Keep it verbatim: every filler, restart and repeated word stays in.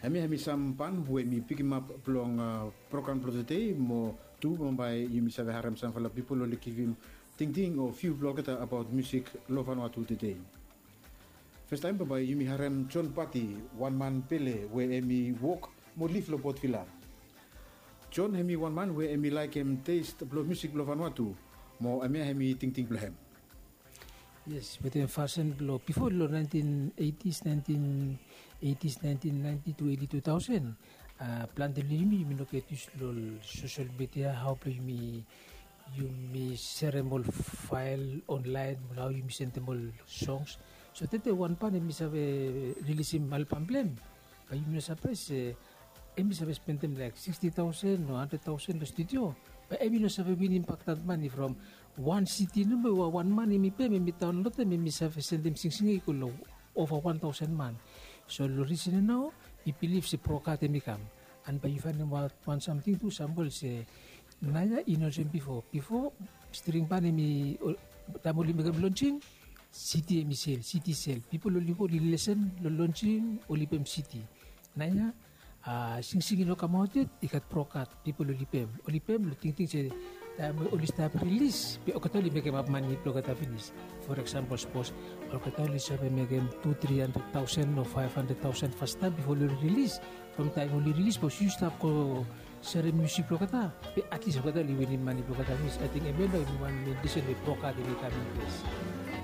Hemia hemi sam pan we mi pikimap blong program blong tede, mo tu bambae yumi save harem samfala pipol oli givim tingting o viu blong olgeta abaot musik long Vanuatu tede. Festaem bambae yumi harem John Pati, wan man pele we hemi wok mo liv long Port Vila. John hemi wan man we hemi laekem test blong musik blong Vanuatu, mo hemia hemi tingting blong hem. Yes, wetem fasin blong bifo long nineteen eighties, nineteen eighties, nineteen ninety to early two thousand, plante long yumi yumi no get yus long social media, hao blong yumi yumi serem ol fael onlaen, hao yumi sendem ol songs. So tede wan pan hemi save rilisim albam blong hem, bae yumi no sapraes se hemi save spendem laek sixty thousand o hundred thousand long studio. Bae hemi no save winim bak dat mane from wan city nomo we wan man hemi pem, hemi daonlodem, hemi save sendem singsing ya i go long ova wan thousand man. So long risen ya nao mi bilif se brokat hemi kam. And bae yu faenem wan samting tu, sampol se naoia i no olsem bifo. Bifo string ban hemi, taem oli mekem lonsing, city hemi sel, city sel. Pipol oli go oli lesen long lonsing, oli pem city. Naoia singsing i no kamaot yet, i gat brokat, pipol oli pem. Oli pem long tingting se taem we oli stap rilis be olgeta oli mekemap mane blong olgeta finis. For example, sapos olgeta oli save mekem tu tri handred taosen o faef handred taosen fastaem bifo oli rilis. From taem oli rilis, sapos yu stap go serem musik blong olgeta, be atlis olgeta oli winim mane blong olgeta finis. Ating hemia nao hemi wan mein risen we brokat hemi kam inples.